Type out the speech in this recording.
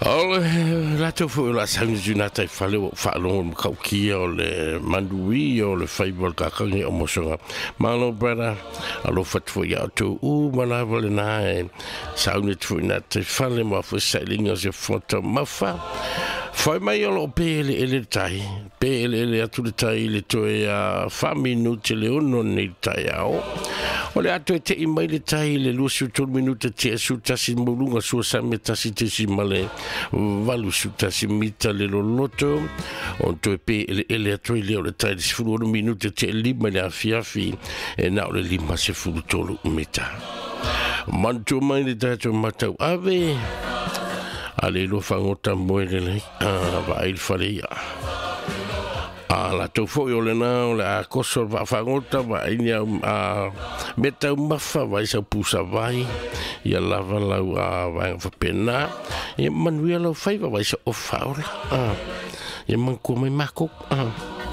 O le latou foi o le a sauni atu i nā tai fale ua ou faalogo i le matautia o le manuia o le faiva o le kakagi o mosoga. Malo brother, alofa atu foi ia outou uma lava lena e sauni atu foi i nā tai fale mo a foi sailiga o se foto mafa. Fai mai o lo o pe eleele le tai, pe eleele atu le tai i le toe a 4 minute le 6 nei le taeao. O le a toe tei mai le tai i le 23 minute tea 11 maualuga sua sami 1.81 mita le loloto. O toe pe eleele atu ai lea o le tai le 16 minute tea 5 i le afiafi e na o le 53 mita. Manatua mai le tatou matau ave a le lua fagota moe lelei a vaai le fale ia. A latou foi o lena o le a koso le vaafagota vaai ni au a mea taumafa vaai sau pusa vai ia lava lau a vaega faapena. Ia manuia lau faiva vaai sa ofa ola. Ia manatua mai makou.